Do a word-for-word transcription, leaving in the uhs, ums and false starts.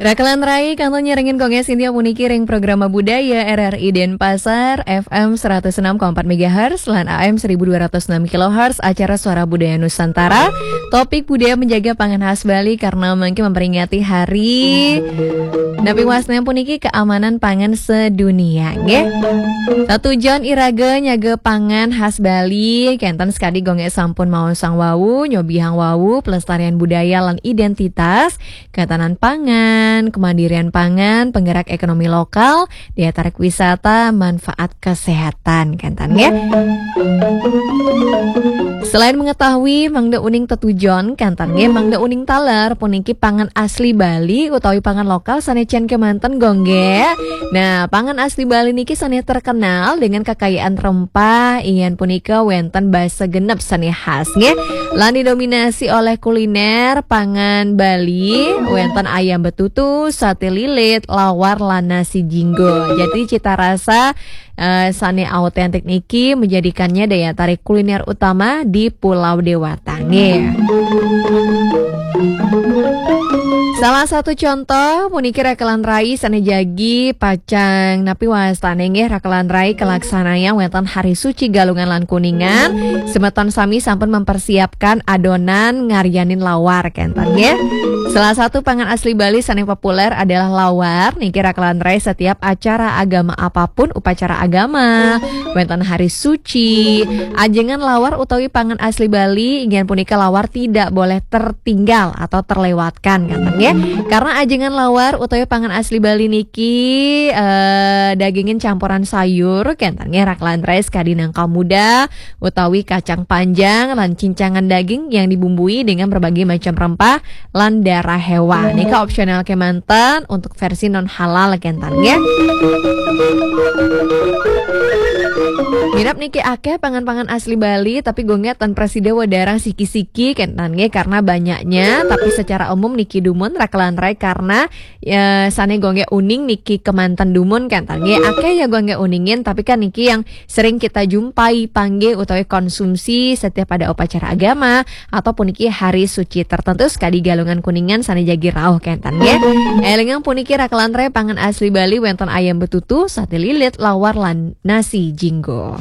Rakelan rai, kantun nyarengin gongé sintia puniki ring Programa Budaya R R I Denpasar, F M seratus enam koma empat megahertz, lan A M seribu dua ratus enam kilohertz, acara Suara Budaya Nusantara. Topik budaya menjaga pangan khas Bali karena mangkin memperingati hari napi wasna puniki keamanan pangan sedunia, nggih. Tetujon iraga nyaga pangan khas Bali, kenten sakadi gongé sampun maosang wau, nyobihang wau, pelestarian budaya lan identitas, ketahanan pangan, kemandirian pangan, penggerak ekonomi lokal, daya tarik wisata, manfaat kesehatan, kenten, nggih. Selain mengetahui mangda uning tetujon, kenten, nggih, mangda uning taler puniki pangan asli Bali utawi pangan lokal sané cén kémanten, gongé. Nah, pangan asli Bali niki sané terkenal dengan kekayaan rempah, inggih punika wénten basa genep sané khas, nggih. Lan didominasi oleh kuliner pangan Bali, wénten ayam betutu, sate lilit, lawar, lan nasi jinggo. Jadi cita rasa eh, sané autentik niki menjadikannya daya tarik kuliner utama di Pulau Dewata, nggih. Salah satu contoh puniki rakelan rai sané jagi pacang napi wastané, nggih, rakelan rai kalaksanayang wénten Hari Suci Galungan lan Kuningan. Semeton sami sampun mempersiapkan adonan ngaryanin lawar, kenten, nggih. Salah satu pangan asli Bali sané populer adalah lawar. Niki rakelan rai setiap acara agama apapun, upacara agama, wénten hari suci, ajengan lawar utawi pangan asli Bali, inggih punika lawar tidak boleh tertinggal atau terlewatkan, kenten, nggih. Karena ajengan lawar utawi pangan asli Bali niki, eh, dagingin campuran sayur, kenten, nggih, rakelan rai, sakadi nangka muda utawi kacang panjang lan cincangan daging yang dibumbui dengan berbagai macam rempah lan darah hewan. Nika opsional kémanten untuk versi non halal, kenten, nggih. Minab niki akéh pangan-pangan asli Bali, tapi gongé tan prasida wadarang siki-siki, kenten, nggih, karena banyaknya, tapi secara umum niki dumun rakelan rai karena, ya, sané gongé uning niki kémanten dumun, kenten, nggih. Akéh ya gongé uningin, tapi kan niki yang sering kita jumpai, panggih utawi konsumsi setiap ada upacara agama ataupun niki hari suci tertentu, sakadi Galungan Kuningan sané jagi rauh, kenten, nggih. Élingang puniki rakelan rai, pangan asli Bali wénten ayam betutu, sate lilit, lawar, lan nasi jinggo.